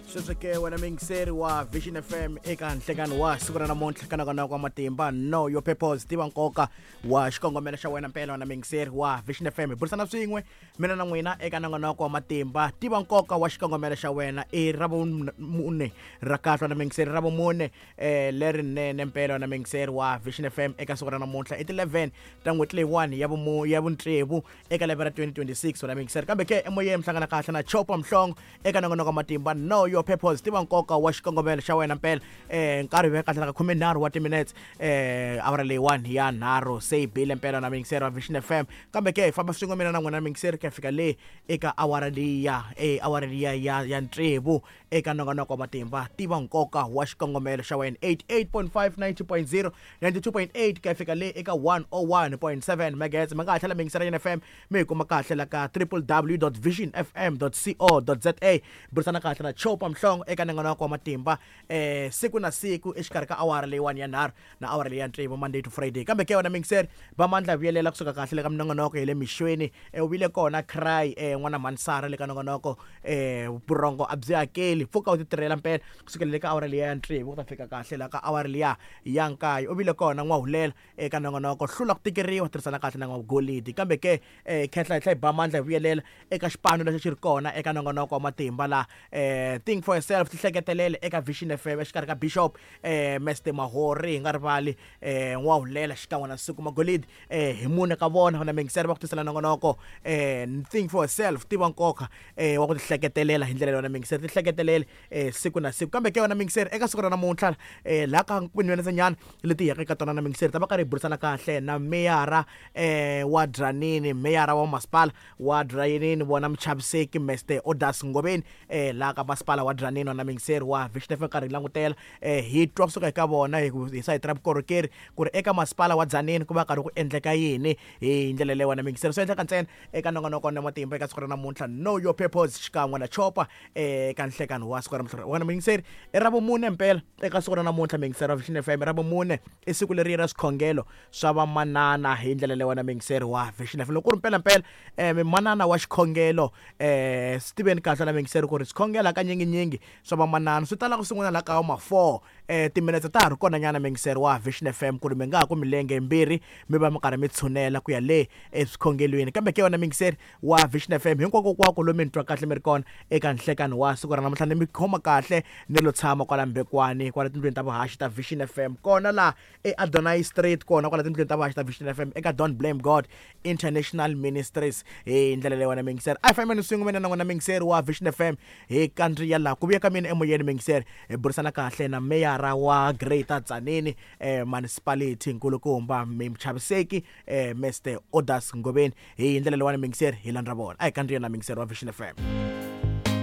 Sweswo ke wena muyingiseri wa Vision FM eka nhlekani wa siku ra namuntlha ka nongonoko wa matimba Know Your Purpose, tiva nkoka wa xikongomelo xa wena mpela. Wena muyingiseri wa Vision FM, hi burisana swin'we mina na n'wina eka nongonoko wa matimba, tiva nkoka wa xikongomelo xa wena. I ra vumune ra kahle wena muyingiseri, ra vumune lerinene mpela wena muyingiseri wa Vision FM eka siku ra namuntlha i ti 11 ta n'hweti leyiwani ya vutsevu eka lembe ra 2026 wena muyingiseri. Kambe ke emoyeni mi hlangana kahle na Chopa Mhlongo eka nongonoko wa matimba Know Your Purpose, tiva nkoka wa xikongomelo xa wena mpela. Nkarhi ve kahle ka 13 wa timinutes awara leyiwani ya nharhu se yi bile mpela na muyingiseri wa Vision FM. Kambe ke hi famba swin'we mina na n'wina muyingiseri ku ya fika le eka awara liya awara liya ya tsevu eka nongonoko wa matimba, tiva nkoka wa xikongomelo xa wena. 88.5, 90.0, 92.8 ku ya fika le eka 101.7 megahertz. Mi nga ha tlhela mi yingisela Yena FM, mi hi kuma kahle la ka www.visionfm.co.za. Burisana kahle na Chopa Mhlongo eka nongonoko wa matimba siku na siku exikarhi ka awara leyiwani ya nharhu na awara leyi ya tsevu, Monday to Friday. Kambe ke wena muyingiseri va mandla vuyelela kusuka kahle le ka minongonoko hi le mixweni, u vile kona cry n'wana mhanisara le ka nongonoko vurhongo a byi hakeli, pfuka u ti tirhela mpela kusukela le ka awara liya ya tsevu ku ta fika kahle la ka awara liya ya nkaye. U vile kona n'wahulela eka nongonoko hlula ku tikeriwa, tirhisana kahle na n'wagolidi. Kambe ke khehla hi tlhela hi ba mandla hi vuyelela eka xipano lexi xi ri kona eka nongonoko wa matimba la Think for Yourself, tihleketelele eka Vision FM exikarhi ka Bishop Mr Mahori, hi nga rivali n'wahulela xikan'we na Siku Magolidi hi mune ka vona na mingiseri va ku tisela nongonoko Think for Yourself, tiva nkoka wa ku tihleketelela hi ndlela yona mingiseri, tihleketelele siku na siku. Kambe ke wena mingiseri eka siku ra namuntlha laha ka nyana leti hi yaka eka tona na mingiseri ta va karhi hi burisana kahle na meyara wa Dzanini, meyara wa masipala wa Dzanini vona muchaviseki Mr Odas Ngoveni laha ka masipala wa Dzanini. Na mingiseri wa Vision FM karhi hi langutela hi twa kusuka eka vona hi sayiti ra vukorhokeri ku ri eka masipala wa Dzanini ku va karhi ku endleka yini hi ndlela leyi. Wena mingiseri swi endleka ntsena eka nongonoko na matimba eka siku ra namuntlha Know Your Purpose xikan'we na Chopa eka nhlekani wa siku ra namuntlha. Wena mingiseri i ra vumune mpela eka siku ra namuntlha, mingiseri wa Vision FM, ra vumune i siku leri ra swikhongelo swa vamanana hi ndlela leyi. Wena mingiseri wa Vision FM, loko ku ri mpelampela manana wa xikhongelo swi tiveni kahle na mingiseri ku ri swikhongelo hakanyinginyingi swa vamanana swi tala ku sungula la ka ma 4 timinetse ta ha ri kona nyana mingiseri wa Vision FM ku ri mi nga ha ku milenge yimbirhi mi va mi karhi mi tshunela ku ya le eswikhongelweni. Kambe ke wena mingiseri wa Vision FM hinkwakokwako lomu mi ni twa kahle mi ri kona eka nhlekani wa siku ra namuntlha, ni mi khoma kahle ni lo tshama kwala Mbekwani kwala tindlwini ta vuhaxi ta Vision FM kona laha eAdonai Street, kona kwala tindlwini ta vuhaxi ta Vision FM eka Don't Blame God International Ministries. Hi ndlela leyi wena mingiseri a hi fambeni swin'we mina na n'wina mingiseri wa Vision FM hi kandziya laha ku vuya ka mina emoyeni mingiseri hi burisana kahle na meyara wa Greater Tzaneen Municipality nkulukumba muchaviseki Mr Odas Ngoveni. Hi ndlela leyiwani mingiseri hi landza vona, a hi kandziya na mingiseri wa Vision FM.